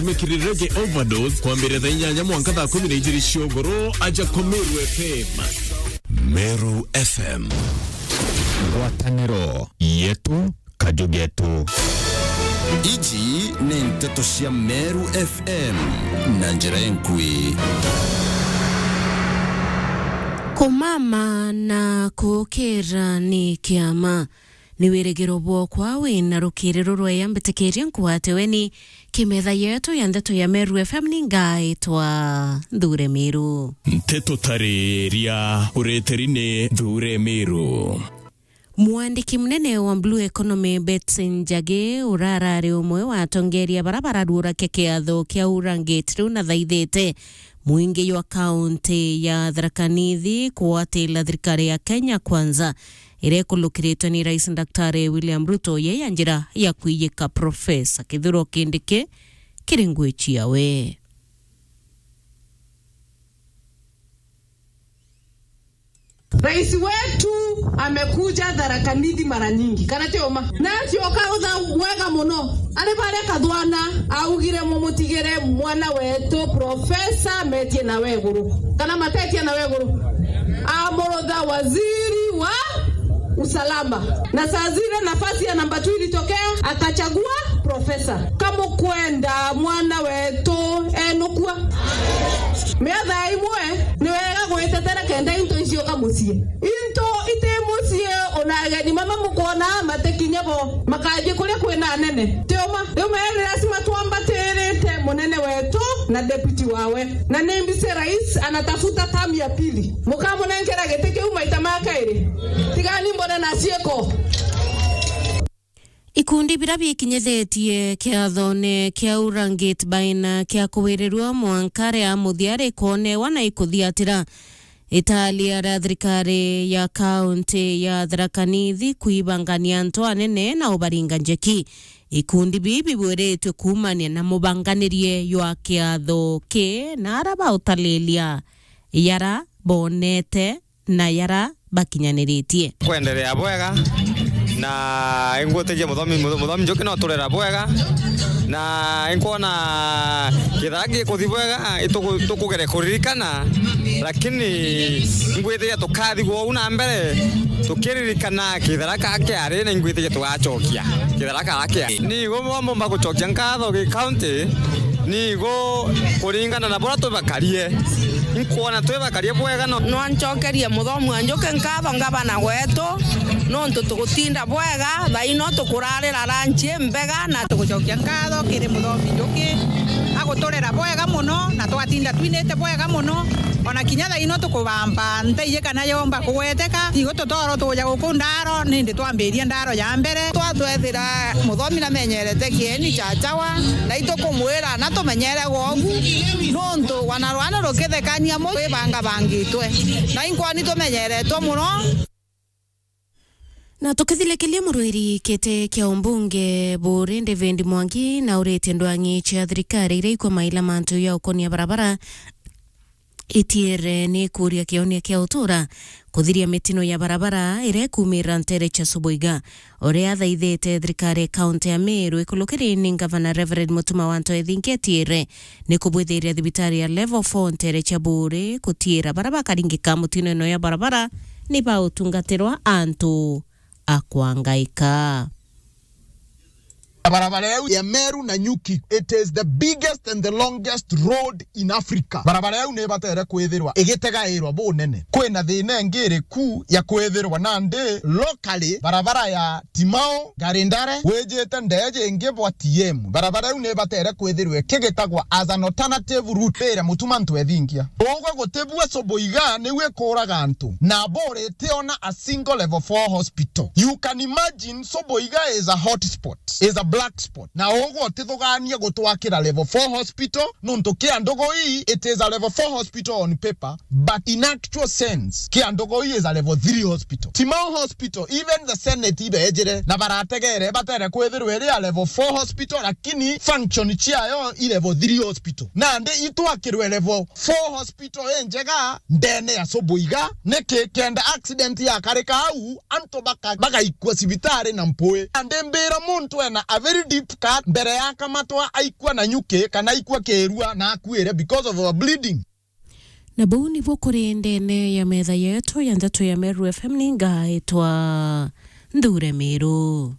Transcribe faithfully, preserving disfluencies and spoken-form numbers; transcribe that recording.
Mekiri Reggae Overdose kwambĩrĩria thaa inyanya mwanka thaa kumi na ijiri cia ũgũrũ, aja kwa Meru F M. Meru F M. Ngwatanĩro yetu, kaju getu. Iji ni nteto cia Meru F M na njira enkui. Kumama na kukira ni kiama. Ni wirigiro bwokwa wina rukiri rurweya mbitikirie nkwate weni kimetha yetu ya ndeto ya Meru F M. Ni ngaitwa Nthure Miru. Nteto tariria ureteri ni Nthure Miru. Mwandiki munene wa Blue Economy Betty Njagi urarari umwe wa atongeria bara bararuurakia kiatho kia Urangate riu nathaithite mwingi jwa kaunti ya Tharaka Nithi kugwatira thirikari ya Kenya Kwanza iria ikulukiritwe ni Rais Daktari William Ruto, ye ya njira ya kwijika Profesa Kithure Kindiki kiri ngui ciawe. Rais wetu amekuja Tharaka Nithi mara nyingi, kana ti uma? Na acioka utha bwega muno. Ari baria Kathwana augire, "Mumutigire mwana wetu Profesa Metie na Weguru." Kana Matetie na Weguru? Amurutha waziri wa usalama. Na saa zile nafasi ya namba two ilitokea, akachagua Profesa. Kamukwenda mwana wetu enukua. Miatha imwe ni wega gwitetera kenda into icioka mucii. Into iti mucii, ona ageni mama mukwona matikinya bo, makathii kuria kwina anene. Ti uma? Riu meri lazima twambatirite munene wetu na deputy wawe. Na ni mbisi rais anatafuta term ya pili. Mukamunenkera giti kiu maita ma kairi? Tigani mbone na ciiko. Ikundi bira bikinyithitie kiathone kia Urangate Baina kia kuwirirua mwanka ria muthia rikonewa na ikuthiatira. Italia ria thirikari ya kaunti ya Tharaka Nithi kwibangania antu anene na ubaringa njeki. Ikundi bii bibwiritwe kuumania na mubanganirie jwa kiatho ki na ara bautalilia yara bonete na yara bakinyaniritie. Kwenderea bwega, na ingwitikia muthomi, muthomi Njuki no turera bwega, na inkwona kithara gikuthi bwega, ituku-, tukugere kuririkana, lakini ingwitikia tukathi gwou na mbere, tukiririkana kithara ka kiari, na ingwitikia tugacokia kithara kara kiari. Ni igo mbomba gucokia nkatho gi county, ni igo kuringana na buria twibakarie. Inkwona twibakarie bwega no. Nwancokerie muthomi wa Njuki nkatho, ngavana wetu, nontu tugutinda bwega, thaino tukurarira ranchi imbega na tugucokia nkatho kiri muthomi Njuki. Aguturera bwega muno na twatinda twinite bwega muno. Ona kinya thaino tukubamba nteije kana yomba kugweteka. Igo tutoro tuja guku ndaro, nindi twambirie ndaro ya mbere. Twatwethira muthomi namenyerete kieni cha chawa, na itukumwira na tumenyere gwogu, nontu wana rwana rukithekania mu rwibangabangitwe, na inkwoni tumenyeretwe muno. Na tukithilikilia murwiri kiti kia umbunge Buuri David Mwangi na uritie ndwang'i cia thirikari iria ikwa maila mantu ya ukonia barabara, itiere ni kuria kionia kia utura kuthiria mitino ya barabara iria ikuumira ntere cia Subuiga. Uria athaithite thirikari ya kaunti ya Meru ikulukiri ni ngavana Reverend Mutuma wa Ntoethinki etiere ni kubwithiria thibitari ya level four ntere cia Buuri kutiira bara bakaringika mutino ino ya barabara ni bautungatirwa antu a kwangaika. Barabara yau ya Meru Nanyuki, it is the biggest and the longest road in Africa. Barabara yau ni ibatere kwithirwa igitegairwa bunene. Kwina thina ingi iriku ya kwithirwa nandi locally barabara ya Timao, Garindare, wijite ndeji ingi bwa T M? Barabara yau ni ibatere kwithirwa ikigitagwa as an alternative route iria Mutuma Ntoethinki. Ugwe gutibua Subuiga niu ikuraga antu, na Buuri itiona a single level four hospital. You can imagine, Subuiga is a hot spot, is a black spot. Na ugwe utithugania gutwakira level four hospital, nontu Kiandugui, it is a level four hospital on paper, but in actual sense, Kiandugui is a level three hospital. Timao Hospital, even the Senate ibejire na barategere, batere kwithirwa iri a level four hospital, lakini function ciayo i level three hospital. Nandi itwakirwe level four hospital injega ndene ya Subuiga, niki? Kenda accident yakarika au, antu baka-, bagaikua cibitari na mpui. Nandi mbira muntu ena a very deep cut, mbere ya kamatwa aikua na nyuki kana aikua kirua na akuire because of our bleeding. Na bau nibo kuri ndene ya metha yetu ya ndeto ya Meru F M, ni ngaitwa Nthure Miru.